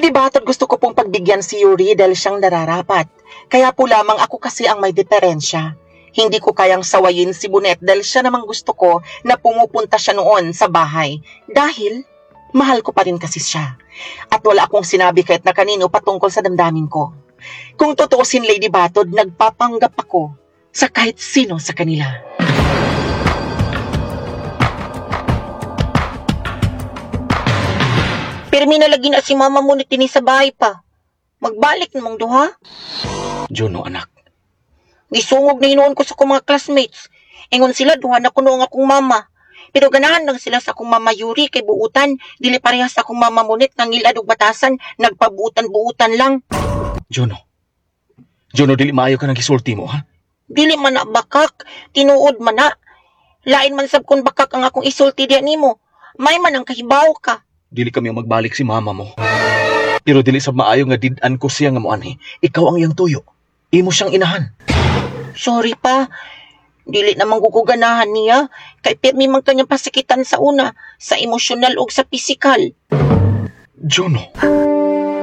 Lady Batod, gusto ko pong pagbigyan si Yuri dahil siyang nararapat. Kaya po lamang ako kasi ang may diferensya. Hindi ko kayang sawayin si Bunet dahil siya namang gusto ko na pumupunta siya noon sa bahay. Dahil mahal ko pa rin kasi siya. At wala akong sinabi kahit na kanino patungkol sa damdamin ko. Kung tutuusin, Lady Batod, nagpapanggap ako sa kahit sino sa kanila. Pirmi na lagi na si mama mo ni tini sa bahay pa. Magbalik namang duha. Juno, anak. Gisungog na hinuon ko sa akong mga classmates. Ingon sila duha na kuno ang akong mama. Pero ganahan lang sila sa akong mama Yuri kay buutan, dili parehas sa akong mama Monet nga ngilad og batasan, nagpabuutan-buutan lang. Juno. Juno, dili maayo ka nang gisulti mo, ha? Dili man na bakak, tinuod man na. Lain man sab kun bakak ang akong isulti diya nimo. May man ang kahibaw ka. Dili kami ang magbalik si mama mo. Pero dili sab maayo nga did-an ko siya nga moanhi. Ikaw ang iyang tuyo. Imo siyang inahan. Sorry pa. Dili naman ko ganahan niya kay pirmi man kanyang pasakitan sa una, sa emosyonal ug sa pisikal. Juno.